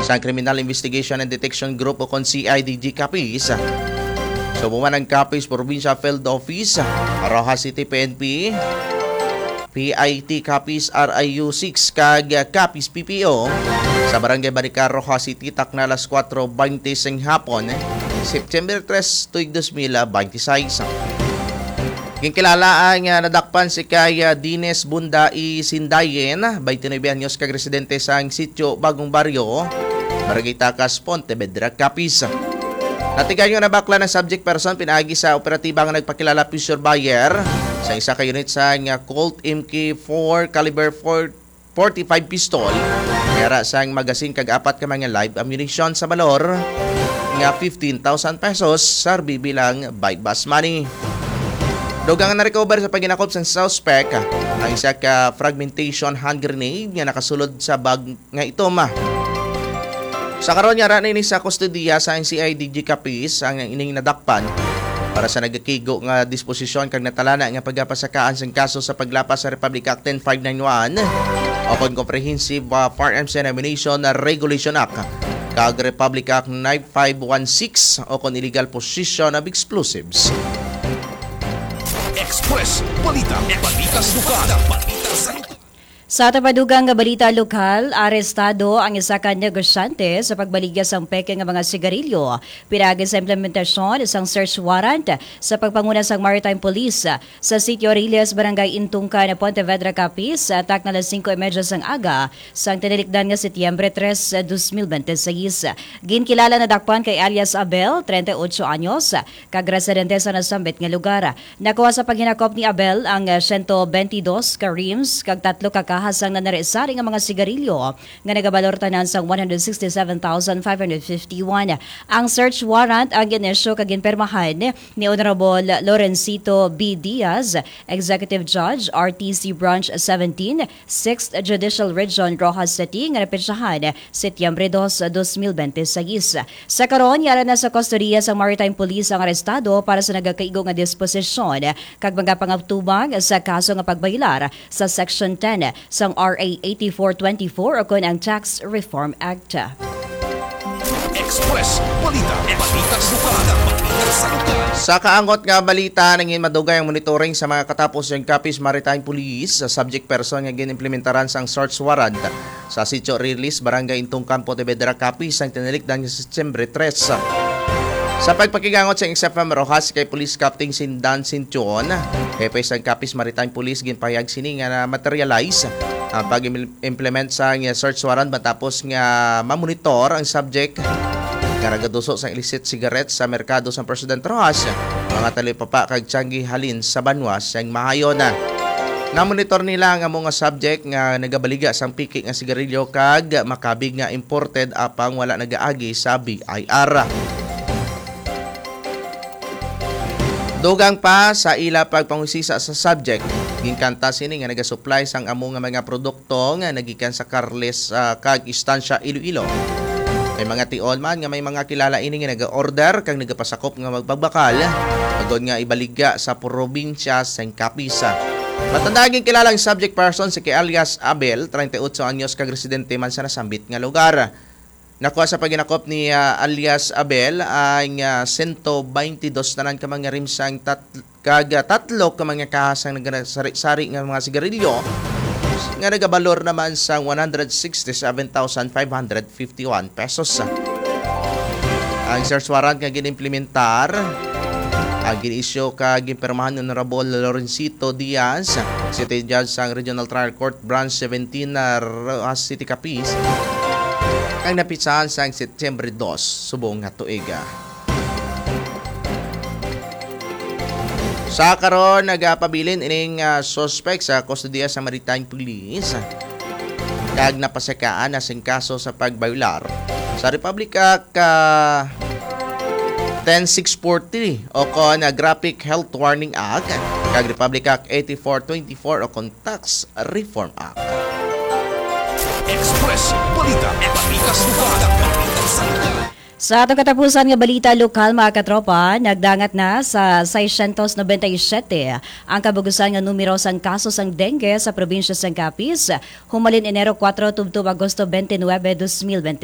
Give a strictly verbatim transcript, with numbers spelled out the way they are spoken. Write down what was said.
sa Criminal Investigation and Detection Group o kon C I D G Capiz. Subong man ang Capiz Provincial Field Office, Roxas City P N P, P I T Capiz R I U six kag Capiz P P O sa Barangay Balicar, Roxas City, takna alas kuwatro bente sang hapon, September tres, tuig dos mil bente seis. Ginkilala ang, ah, nadakpan si kay, ah, Dines Bunda I Sindayen, twenty-nine anyos, kag residente sang sitio Bagong Barrio, Barangay Takas, Pontevedra, Capiz. Natigayon na bakla ng subject person pinaagi sa operatiba nga nagpakilala picture buyer sa isa ka unit sang, ah, Colt M K four caliber four forty-five pistol, may ara sang magazine kag apat ka mga live ammunition sa balor nga fifteen thousand pesos, sarbi bilang buy bust money. Dugang na recover sa paghinakop sang suspect ang isa ka fragmentation hand grenade nga nakasulod sa bag nga itom. Sa karon, yara na ini sa kustodiya sa C I D G Capiz ang ining nadakpan para sa nagakigo nga disposisyon kag natalana nga pagapasakaan sang kaso sa paglapas sa Republic Act ten five nine one o kon Comprehensive, ah, Firearms and Ammunition Regulation Act kag Republic Act nine five one six o kon illegal possession of explosives. Express Balita. Balita sa lugar. Balita sa lugar. Sa aton pa dugang nga balita lokal, arestado ang isa ka negosyante sa pagbaligya sang peke nga mga sigarilyo pinaagi sa implementasyon sang search warrant sa pagpanguna sang Maritime Police sa Sitio Riles, Barangay Intungkan, Pontevedra, Capiz, takna alas singko y media sang aga sang tinalikdan nga Setyembre tres, dos mil bente seis. Ginkilala nadakpan kay alias Abel, treinta y ocho anyos, kag residente sa nasambit nga lugar. Nakuha sa paghinakop ni Abel ang, eh, siyento benti dos ka rims kag tatlo ka kaha sang nanari-sari nga mga sigarilyo nga nagabalor tanan sang one hundred sixty-seven thousand five hundred fifty-one. Ang search warrant ang gin-issue kag ginpirmahan ni Honorable Lorencito B. Diaz, Executive Judge, R T C Branch seventeen, Sixth Judicial Region, Roxas City, nga napetsahan Setyembre dos, dos mil bente seis. Sa karon, yara na sa kustodiya sang Maritime Police ang arestado para sa nagakaigo nga disposisyon kag mga pangatubang sa kaso nga pagbayolar sa Section ten sang R A eighty-four twenty-four o kon ang Tax Reform Act. Express Balita. Balita sa lugar. Balita sa lugar. Sa kaangot nga balita, nangin madugay ang monitoring sa mga katapos sang Capiz Maritime Police sa subject person nga ginimplementaran sang search warrant sa Sitio Riles, Barangay Intungkan, Pontevedra, Capiz, sang tinalikdan nga Setyembre tres. Sa pagpakigangot sa X F M Roxas kay Police Captain Sindan Sintion, hepe sang Capiz Maritime Police, ginpahayag sini nga na-materialize ang pag-implement sa search warrant matapos nga mamonitor ang subject nga nagaduso sang illicit cigarettes sa merkado sang President Roxas, mga talipapa kag tiangge halin sa banwa sang Mahayon. Namonitor nila ang amo nga subject nga nagabaligya sang piki nga sigarilyo kag makabig nga imported apang wala nagaagi sa B I R. Dugang pa sa ila pagpangusisa sa subject, ginkanta sini nga nagasupply sang amo nga mga produkto nga nagikan sa Carles, ah, kag Estancia, Iloilo. May mga tion man nga may mga kilala ini nga naga-order kag nagapasakop nga magpagbakal agod nga ibaligya sa probinsya sang Capiz. Matanda, ginkilala ang subject person si kay alias Abel, treinta y ocho anyos, kag residente man sa nasambit nga lugar. Nakuha sa paghinakop ni, ah, alias Abel ang, ah, sento baynte dos tanan ka mga rim sang tat-, kag, ah, tatlo ka mga kaha sang nagasari-sari nga mga sigarilyo nga nagabalor naman sang one hundred sixty-seven thousand five hundred fifty-one pesos. Ang search warrant nga ginimplementar ang gin-issue kag ginpirmahan ni Honorable Lorencito Diaz, City Judge sang Regional Trial Court Branch seventeen, ah, Roxas City, Capiz, kag napitsahan sang Setyembre dos subong nga tuig. Sa karon, nagapabilin ining, ah, suspek sa kustodiya sa Maritime Police kag napasakaan na sing kaso sa pagbayolar sa Republic Act, ah, ten six forty o kon, ah, Graphic Health Warning Act kag Republic Act eighty-four twenty-four o kon Tax Reform Act. Express Balita. Balita sa lugar. Balita sa lugar. Sa atong katapusan nga balita lokal, mga katropa, nagdangat na sa seiscientos noventa y siete ang kabugusan nga numero sang kaso sang dengue sa probinsya sang Capiz, humalin Enero kuwatro tubtob Agosto twenty-nine, dos mil bente.